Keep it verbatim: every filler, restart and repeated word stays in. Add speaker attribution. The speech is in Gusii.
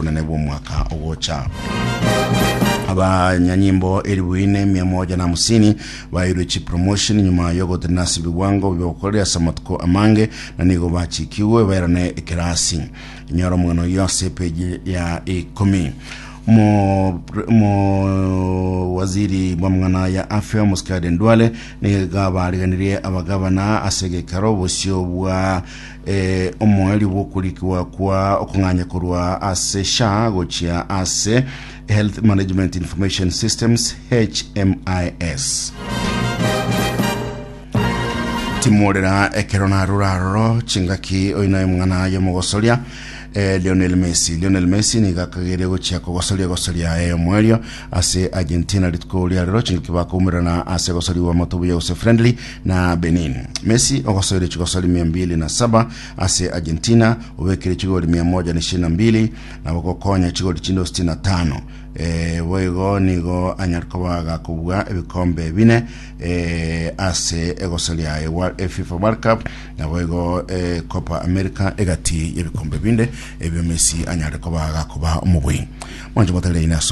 Speaker 1: Obonene bw'omwaka ogocha. Abanyanyimbo eribu ine mia moja na hamsini bairwe chipromotion nyuma yogotenena ase ebiwango biogokorera ase amatuko amange, na nigo bachikigwe bairane ekerasi. Inyora omogano oyio ase epeji ya ikomi. Mo, mo waziri bw'amang'ana ya afya Omosikari Ndwale nigo bariganirie abagavana ase egekaro bosio bwa eh, omoerio bw'okorikiwa kwa okong'anya korwa ase S H A gochia ase Health Management Information Systems, H M I S. Timorera ekero narura aroro chingaki oino omong'ana yomogosoria eh, Lionel Messi. Lionel Messi nigo akagere gochia kogosoria gosoria eh, omwerio ase Argentina rituko ria rero chingaki bakoumerana ase gosoriwa motobuya gose friendly na Benin. Messi ogosoire chigosori mia mbili na saba ase Argentina, obekire chigori mia moja na ishirini na mbili na bogokonya chigori chinde sitini na tano. eh, boigo nigo anyara koba gakobua ebikombe bine eh, ase egosoria ya eh, FIFA World Cup na boigo eh, Copa America, egati y'ebikombe binde ebio Messi anyare koba gakoba omobui mwancho motarire ase.